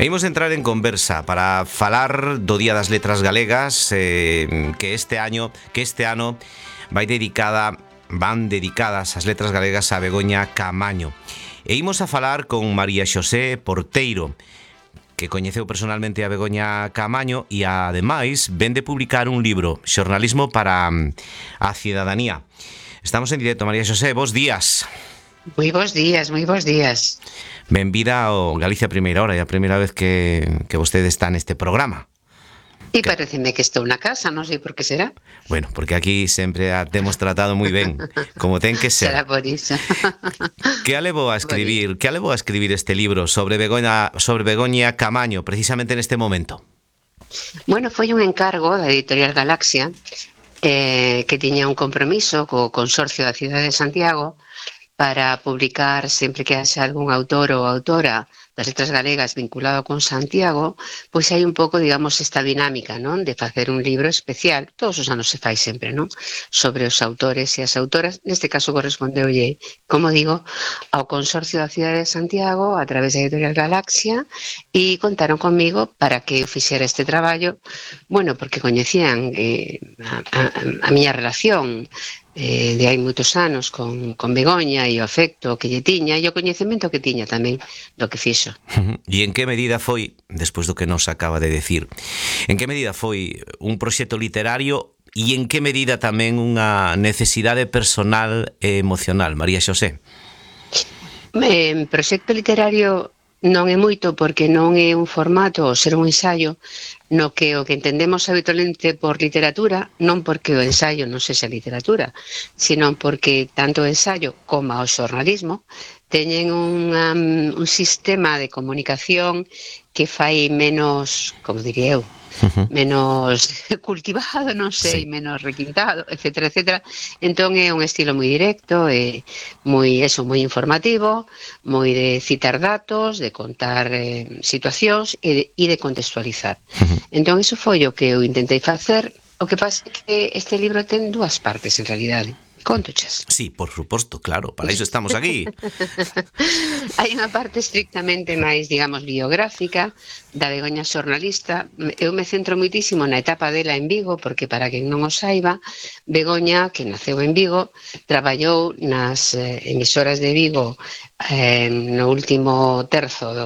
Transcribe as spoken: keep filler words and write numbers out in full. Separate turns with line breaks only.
E imos entrar en conversa para falar do Día das Letras Galegas, eh, que este año, que este ano vai dedicada, van dedicadas as letras galegas a Begoña Caamaño. E imos a falar con María Xosé Porteiro, que coñeceu personalmente a Begoña Caamaño e ademais vén de publicar un libro, Xornalismo para a Cidadanía. Estamos en directo, María Xosé, bos días.
Moi bons días, moi bons días.
Benvida ao Galicia Primeira Hora, é a primeira vez que, que vostede está neste programa.
E pareceme que estou na casa, non sei por que será.
Bueno, porque aquí sempre a temos tratado moi ben, como ten que ser.
Será por iso.
Que a levou a escribir, que a levou a escribir este libro sobre Begoña, sobre Begoña Caamaño, precisamente neste momento?
Bueno, foi un encargo da Editorial Galaxia, eh, que tiña un compromiso co Consorcio da Cidade de Santiago para publicar sempre que haxa algún autor ou autora das letras galegas vinculado con Santiago, pois hai un pouco, digamos, esta dinámica, non? De facer un libro especial, todos os anos se fai sempre, non? Sobre os autores e as autoras, neste caso correspondeulle, como digo, ao Consorcio da Cidade de Santiago a través da Editorial Galaxia e contaron comigo para que eu fixera este traballo, bueno, porque coñecían eh, a, a, a miña relación eh, de hai moitos anos con, con Begoña e o afecto que lle tiña e o coñecemento que tiña tamén do que fixo.
E en que medida foi, despois do que nos acaba de decir, en que medida foi un proxecto literario e en que medida tamén unha necesidade personal e emocional, María Xosé?
Eh, proxecto literario non é moito porque non é un formato ou ser un ensaio no que o que entendemos habitualmente por literatura, non porque o ensaio non sexa literatura, sino porque tanto o ensaio como o xornalismo teñen un, um, un sistema de comunicación que fai menos, como diría eu,
Uh-huh.
menos cultivado, non sei,
Sí.
menos requintado, etcétera, etcétera. Entón é un estilo moi directo, é moi, eso, moi informativo, moi de citar datos, de contar eh, situacións e de, e de contextualizar.
Uh-huh.
Entón iso foi o que eu intentei facer. O que pasa é que este libro ten dúas partes, en realidade. Contochas.
Sí, por suposto, claro, para iso estamos aquí.
Hai unha parte estrictamente máis, digamos, biográfica da Begoña xornalista. Eu me centro moitísimo na etapa dela en Vigo, porque para quen non o saiba, Begoña, que naceu en Vigo, traballou nas eh, emisoras de Vigo eh, no último terzo do